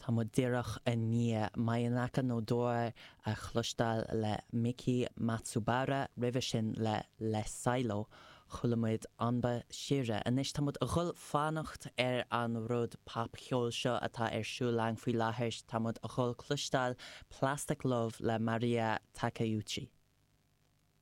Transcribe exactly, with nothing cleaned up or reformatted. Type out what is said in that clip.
Tá muid díreach i ndiaidh Mayonaka no Door a chloisteáil le Miki Matsubara roimhe sin le Le Silo chuala muid Anba Shira. Anois tá muid ag dul fanacht ar an rud popcheol seo atá ar siúl againn faoi láthair tá muid ag dul cloisteáil Plastic Love le Maria Takeuchi.